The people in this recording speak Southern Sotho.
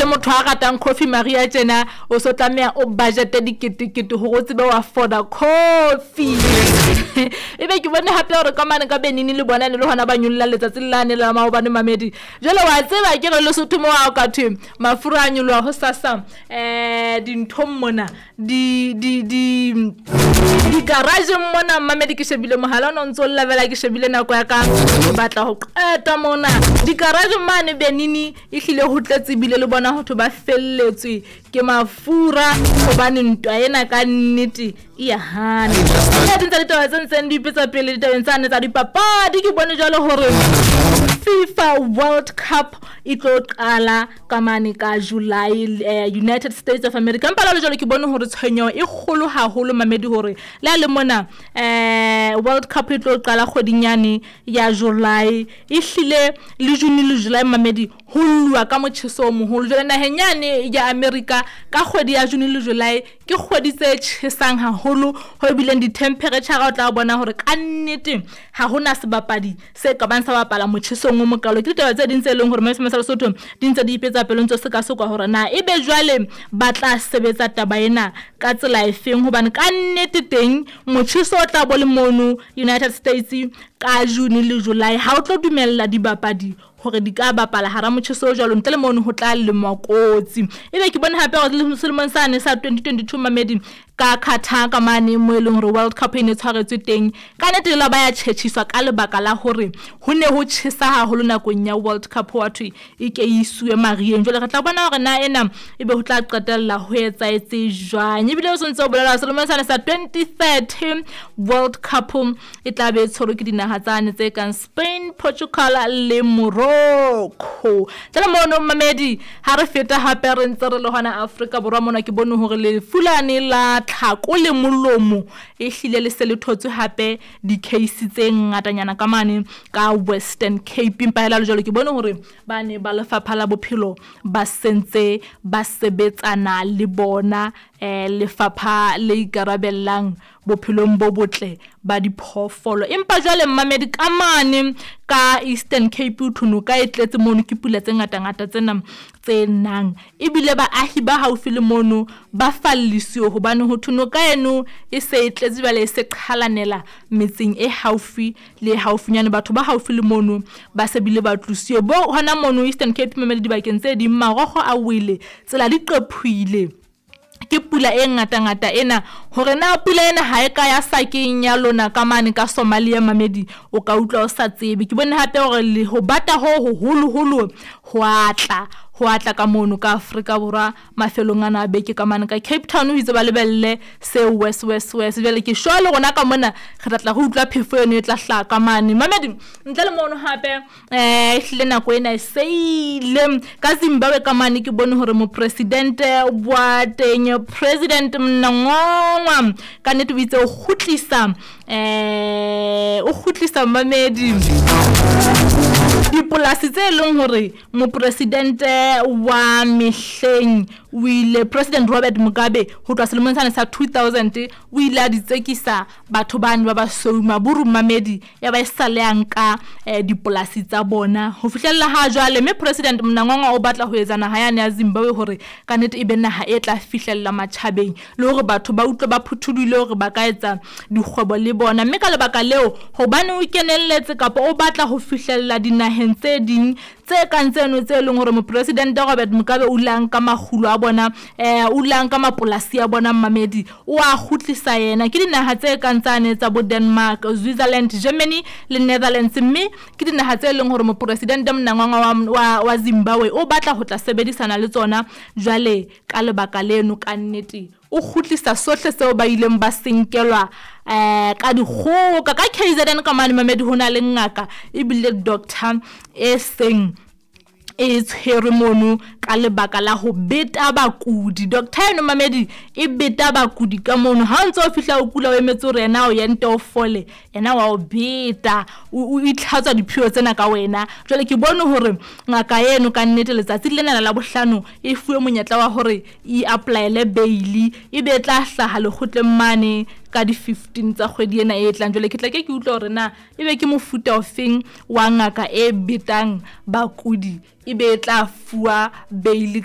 Le motho a ratang coffee Maria tjena o so tlameha o budgete diketekete hore o tsebe ho afforda coffee. Ebe ke bone hape hore ka mane ka Benini le bona ne le hona ba nyolla letsatsi lane la maobane mamedi. Jwale wa tseba ke re Lesotho mo ha o ka thwe mafura a nyoloha hosasa dinthong mona di di di di-garageng mona mamedi ke shebile mohala o ne o ntso lla fela ke shebile nako ya ka ke batla ho qeta mona. Di-garageng mane Benini ehlile ho tletse ebile le bona ho thwe ba felletswe ke mafura hobane ntwa ena ka nnete e ya hana. Tse ding tsa ditaba tse ntseng di ipetsa pele ditabeng tsane tsa dipapadi ke bone jwalo hore FIFA World Cup e tlo qala ka mane ka July United States of America. Empa jwale jwalo ke bone hore tshwenyeho e kgolo haholo mamedi hore le ha le mona World Cup e tlo qala kgweding yane ya July, ehlile le June le July mamedi ho lluwa ka motjheso o moholo. Jwale naheng yane ya America ka kgwedi ya June le July ke kgwedi tse tjhesang haholo ho ebileng di-temperature o tla bona hore ka nnete ha hona sebapadi se ka bang sa bapala motjhesong o mokalo. Ke ditaba tse ding tse leng hore Maestro sa Lesotho di ntse di ipetsa pelo ntse sekasekwa hore na ebe jwale ba tla sebetsa taba ena ka tsela efeng hobane ka nnete teng motjheso o tla bo le mono United States ka June le July ha o tlo dumella dibapadi hore di ka bapala hara motjheso o jwalo ntle le mono ho tla lemwa kotsi. Ebe ke bone hape hore selemong sane sa 2022 mamedi ka Qatar ka mane mo e leng hore World Cup e ne tshwaretswe teng ka nnete la ba ya tjhetjhiswa ka lebaka la hore ho ne ho tjhesa haholo nakong ya World Cup wa thwe e ke isuwe mariheng. Jwale re tla bona hore na ena ebe ho tla qetella ho etsahetse jwang. Ebile o sontse o bolela selemong sane sa 2030 World Cup e tla be e tshwerwe ke dinaha tsane tse kang Spain, Portugal le Morocco. Jwale mono mamedi ha re feta hape re ntse re le hona Afrika Borwa mona ke bone hore lefu lane la tlhako le molomo ehlile le se le thotswe hape di-case tse ngatanyana ka mane ka Western Cape. Empa hela le jwalo ke bone hore ba ne ba lefapha la bophelo ba sentse ba sebetsana le bona lefapha le ikarabellang bophelong bo botle ba diphoofolo. Empa jwale mamedi ka mane ka Eastern Cape ho thwe noka e tletse mono ke pula tse ngatangata tsena tse nang ebile baahi ba haufi le mono ba fallisiwe hobane ho thwe noka eno e se e tletse jwale e se qhalanela metseng e haufi le haufinyane. Batho ba haufi le mono ba se bile ba tlosiwe bo hona mono Eastern Cape mamedi dibakeng tse ding marokgo a wele tsela di qephuhile ke pula e ngatangata ena hore na pula ena ha e ka ya sakeng ya lona ka mane ka Somalia mamedi o ka utlwa o sa tsebe. Ke bone hape hore le ho bata ho hoholoholo ho atla ka mono ka Afrika Borwa mafelong ana a beke ka mane ka Cape Town ho itse ba lebelle se west west west. Jwale ke sure le rona ka mona re tla re utlwa phefo eno e tla hlaha ka mane mamedi. Ntle le mono hape ehlile nako ena e seile ka Zimbabwe ka mane ke bone hore mopresidente wa teng President Mnangagwa ka nnete o itse o kgutlisa mamedi dipolasi tse leng hore mopresidente wa mehleng o ile President Robert Mugabe ho tloha selemong sane sa 2000 o ile a di tsekisa batho bane ba basweu maburu mamedi ya ba e sale ya nka dipolasi tsa bona ho fihlella ha jwale. Mme President Mnangagwa o batla ho etsa naha yane ya Zimbabwe hore ka nnete e be naha e tla fihlella matjhabeng le hore batho ba utlwe ba phuthulohile hore ba ka etsa dikgwebo le bona. Mme ka lebaka leo hobane o kenelletse kapa o batla ho fihlella dinaheng tse ding tse kang tseno tse leng hore mopresidente Robert Mugabe o ile a nka makgulo a bona o ile a nka mapolasi a bona mamedi o a kgutlisa yena. Ke dinaha tse kang tsane tsa bo Denmark, Switzerland, Germany le Netherlands. Mme ke dinaha tse leng hore mopresidente Mnangagwa wa Zimbabwe o batla ho tla sebedisana le tsona. Jwale ka lebaka leno ka nnete o kgutlisa sohle seo ba ileng ba senkelwa ka dikgoka ka KZN ka mane mamedi ho na le ngaka ebile doctor e seng e tshwerwe mono ka lebaka la ho beta bakudi. Doctor eno mamedi e beta bakudi ka mono ha o ntse o fihla o kula o emetse hore yena o ente o fole yena wa o beta o itlhatswa diphio tsena ka wena. Jwale ke bone hore ngaka eno ka nnete letsatsi lena la bohlano e fuwe monyetla wa hore e applyele bail e be tla hlaha lekgotleng mane ka di 15 tsa kgwedi ena e tlang. Jwale ke tla ke utlwa hore na ebe ke mofuta ofeng wa ngaka e betang bakudi ebe e tla fuwa bail.